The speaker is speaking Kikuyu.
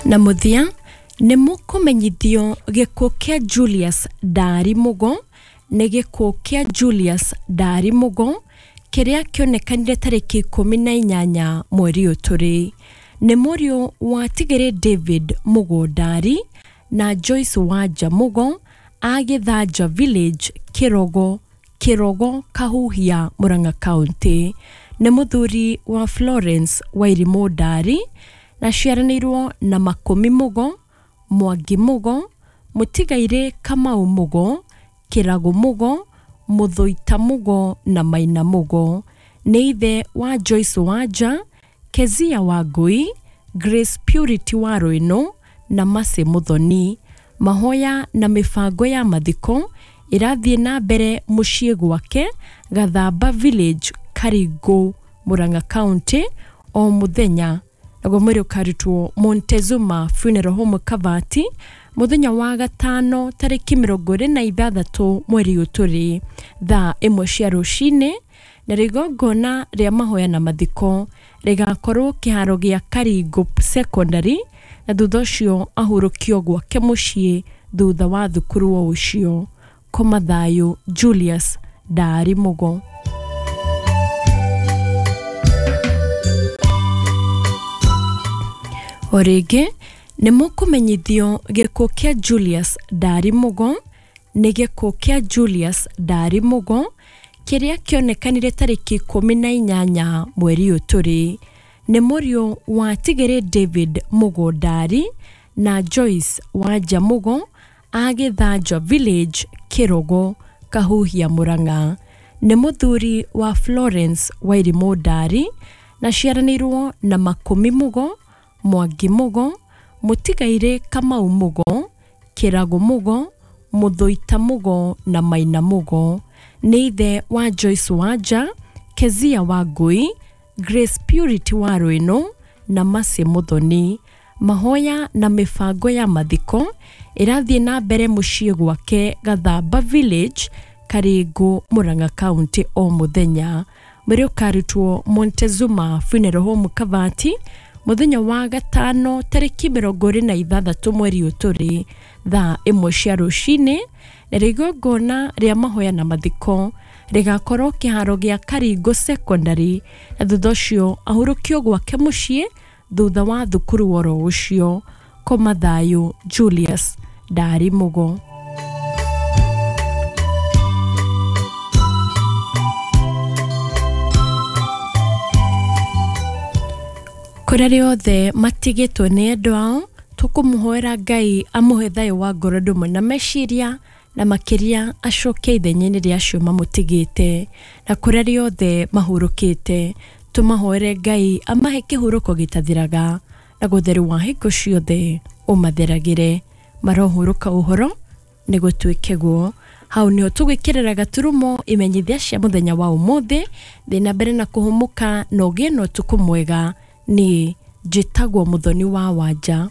Na mũthia nĩ mũkũmenyithio gĩkuũ kĩa Julius Ndari Mugo nĩ gĩkuũ kĩa Julius Ndari Mugo kĩrĩa kĩonekanire tarĩki 18 mweri ũyũ tũrĩ. Nĩ mũriũ wa Tigĩrĩ David Mugo Ndari na Joyce Wanja Mugo a Gĩthanja Village, Kĩrogo, Kĩrogo, Kahuhia, Murang'a County. Nĩ mũthuri wa Florence Wairimũ Ndari na ciaranĩirwo na Makũmi Mugo, Mwangi Mugo, Mũtigairĩ Kamau Mugo, Kĩragũ Mugo, Mũthũita Mugo na Maina Mugo. Nĩ ithe wa Joyce Wanja, Kezia Wangũi, Grace Purity wa Rwĩnũ na Mercy Mũthoni. Mahoya na mĩbango ya mathiko ĩrathiĩ na mbere mũciĩ gwake Gathamba Village, Karingũ, Murang'a County o mũthenya, naguo mwĩrĩ ũkarutwo Montezuma Funeral Home Kabati mũthenya wa gatano tarĩki 26 mweri ũyũ tũrĩ thaa 1 cia rũcinĩ, na igongona rĩa mahoya na mathiko rĩgakorwo kĩharo gĩa Karingũ Secondary, na thutha ũcio ahurũkio gwake mũciĩ thutha wa thukuru o ũcio. Koma thayũ Julius Ndari Mugo. O rĩngĩ nĩ mũkũmenyithio gĩkuũ kĩa Julius Ndari Mugo nĩ gĩkuũ kĩa Julius Ndari Mugo kĩrĩa kĩonekanire tarĩki 18 mweri ũyũ tũrĩ. Nĩ mũriũ wa Tigĩrĩ David Mugo Ndari na Joyce Wanja Mugo a Gĩthanja Village, Kĩrogo, Kahuhia, Murang'a. Nĩ mũthuri wa Florence Wairimũ Ndari na ciaranĩirwo na Makũmi Mugo, Mwangi Mugo, Mũtigairĩ Kamau Mugo, Kĩragũ Mugo, Mũthũita Mugo na Maina Mugo. Nĩ ithe wa Joyce Wanja, Kezia Wangũi, Grace Purity wa Rwĩnũ na Mercy Mũthoni. Mahoya na mĩbango ya mathiko ĩrathiĩ na mbere mũciĩ gwake Gathamba Village, Karingũ, Murang'a County o mũthenya. Mwĩrĩ ũkarutwo Montezuma Funeral Home Kabati mũthenya wa gatano tarĩki 26 mweri ũyũ tũrĩ thaa 1 cia rũcinĩ, na igongona rĩa mahoya na mathiko rĩgakorwo kĩharo gĩa Karingũ Secondary, na thutha ũcio ahurũkio gwake mũciĩ thutha wa thukuru oro ũcio. Koma thayũ Julius Ndari Mugo. Kũrĩa rĩothe matigĩtwo nĩ endwa ao, tũkũmũhoera Ngai amũhe thayũ wa ngoro ndũmwe na meciria, na makĩria acoke ithenya-inĩ rĩa acio mamũtigĩte. Na kũrĩa rĩothe mahurũkĩte, tũmahoere Ngai amahe kĩhurũko gĩtathiraga, na gũtheru wa hingo ciothe ũmatheragĩre. Marohurũka ũhoro nĩ gũtuĩke guo. Hau nĩho tũgwĩkĩrĩra gaturumo imenyithia cia mũthenya wa ũmũthĩ. Thiĩ na mbere na kũhũmũka na ũgĩe na ũtukũ mwega. Niĩ njĩtagwo Mũthoni wa Wanja.